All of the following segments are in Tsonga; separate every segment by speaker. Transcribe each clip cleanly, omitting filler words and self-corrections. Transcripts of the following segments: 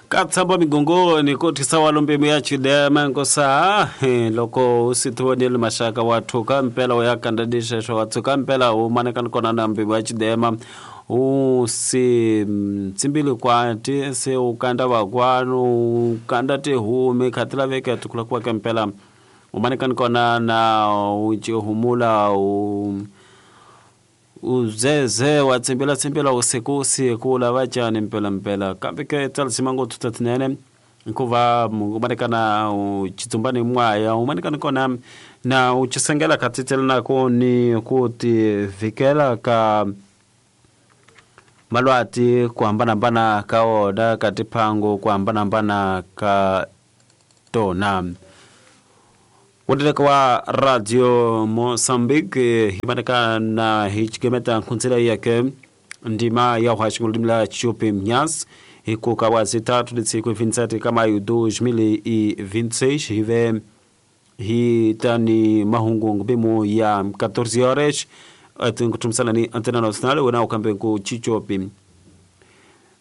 Speaker 1: Ka tshamba migongoni ko thisa walombemu ya chidema nkosa loko u si tivoneli maxaka wa thuka mpela u ya kanda xexo wa tshuka mpela u manekani kona na mbimu ya chidema u si tsimbili kwati se u kanda vakwanu u kanda tihumi kha ti laveka ti kula kuweke mpela u manekani kona na u humula u uzeze wa tsimbila tsimbila usiku usiku lava cani mpela mpela kambe ke tsalisima ngopfu tatinene hikuva u manekana u chitsumbani mwaya u manekana kona na u chisengela khatitsela nako ni ku ti vikela ka malwati ku hambanahambana ka wona ka tiphango ku hambanahambana ka tona. Woteleka wa Radio Mozambique himaneka na hichigemeta nkhunzela yake ndima ya uhashinguludimila chupi mnyasi hikuka wa zitatu litsiku 27 kama 2026 hive hitani mahungu ngubimu ya 14 horas atinkutumisana ni Antena Nacional wena ukambe ku chichopi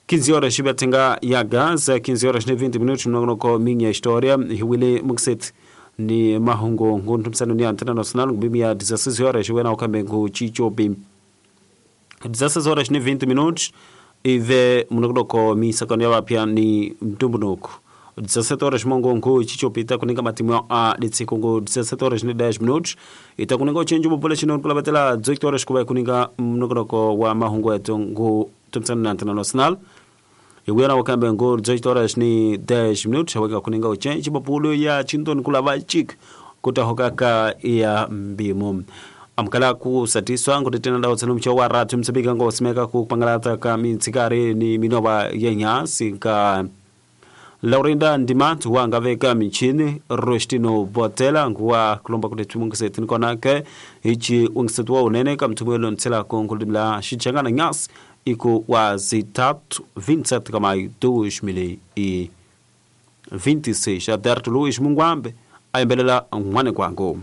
Speaker 1: 15 horas hibatinga ya Gaza 15 horas ne 20 minutos mnongonoko minha história hiwile mukset ni mahungu nguntumisana ni Antena Nacional ngubimu ya 16 horas wena ukambe ku chichopi 16 horas ne 20 minutos ive mnongonoko misakano ya vapya ni mtumbunuku 17 horas mongo nku chichopita kuninga matimu a litsikungu 17 horas ne 10 minutos itakuninga uchenji bopole chino kulabatela 18 horas kuba kuninga mnongonoko wa mahungu yetu ngu tumsana na Antena Nacional iwena wakambe ngu 18 horas ni 10 minutos waka kuninga uchenji bopolo ya chindoni kulava chik kutahokaka ya mbimu amkala kusatiswa ngutetena ndawo tsenu mcho wa ratu msibika ngo simeka kupangalata ka mitsikari ni minova yenyasi ka Laurinda Ndimantu wangaveka michini Rostino Botela nguwa kulomba kuti tumungisetini konake ichi ungisetuwa unene kamtumwelo ntsela konkulimla xichangana nyasi iku wa zitatu 27 kama 2026 Aberto Luiz Mungwambe ayembelela n'wane kwangu.